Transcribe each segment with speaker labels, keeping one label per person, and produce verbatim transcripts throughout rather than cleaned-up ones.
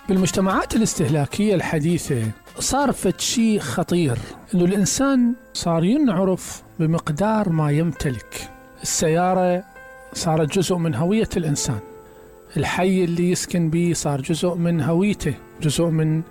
Speaker 1: بالمجتمعات الاستهلاكية الحديثة صار فد شيء خطير، إنه الإنسان صار ينعرف بمقدار ما يمتلك. السيارة صارت جزء من هوية الإنسان، الحي اللي يسكن به صار جزء من هويته، جزء من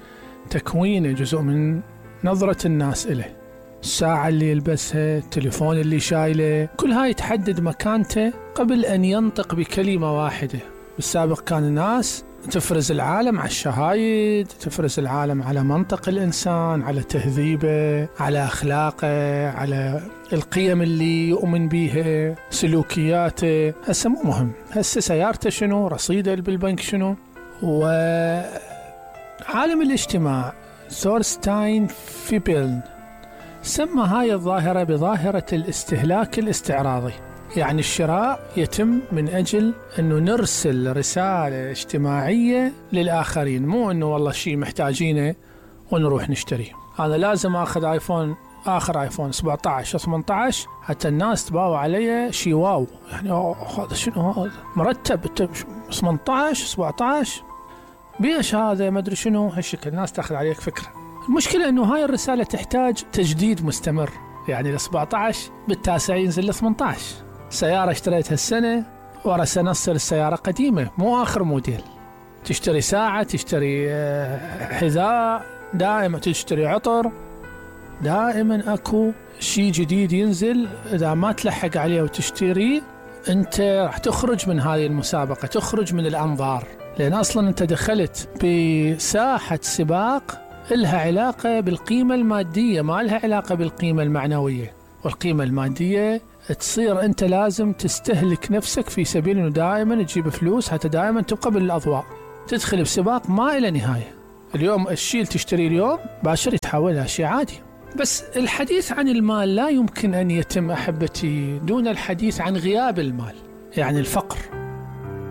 Speaker 1: تكوينه، جزء من نظرة الناس إليه. الساعة اللي يلبسها، التليفون اللي شايله، كل هاي تحدد مكانته قبل أن ينطق بكلمة واحدة. بالسابق كان الناس تفرز العالم على الشهايد، تفرز العالم على منطق الإنسان، على تهذيبه، على أخلاقه، على القيم اللي يؤمن بيها، سلوكياته. هسه مو مهم، هسه سيارته شنو، رصيده بالبنك شنو. وعالم الاجتماع ثورستاين فيبل سمى هاي الظاهرة بظاهرة الاستهلاك الاستعراضي، يعني الشراء يتم من أجل أنه نرسل رسالة اجتماعية للآخرين، مو أنه والله شيء محتاجينه ونروح نشتريه. أنا لازم أخذ آيفون، آخر آيفون سبعة عشر ثمانية عشر حتى الناس تباوع علي شيء واو، يعني هذا شنو، هذا مرتب ثمانية عشر سبعة عشر بيش هذا ما أدري شنو، هالشكل الناس تأخذ عليك فكرة. المشكلة أنه هاي الرسالة تحتاج تجديد مستمر، يعني ل سبعة عشر بالتاسع ينزل ل ثمانية عشر. سيارة اشتريتها السنة ورا سنة تصير السيارة قديمة، مو آخر موديل. تشتري ساعة، تشتري حذاء، دائما تشتري عطر، دائما أكو شيء جديد ينزل. إذا ما تلحق عليه وتشتريه أنت راح تخرج من هذه المسابقة، تخرج من الأنظار، لأن أصلا أنت دخلت بساحة سباق إلها علاقة بالقيمة المادية، ما لها علاقة بالقيمة المعنوية. والقيمة المادية تصير أنت لازم تستهلك نفسك في سبيل أنه دائما تجيب فلوس حتى دائما تبقى بالأضواء، تدخل بسباق ما إلى نهاية. اليوم الشيء اللي تشتري اليوم باشر يتحول إلى شيء عادي. بس الحديث عن المال لا يمكن أن يتم أحبتي دون الحديث عن غياب المال، يعني الفقر.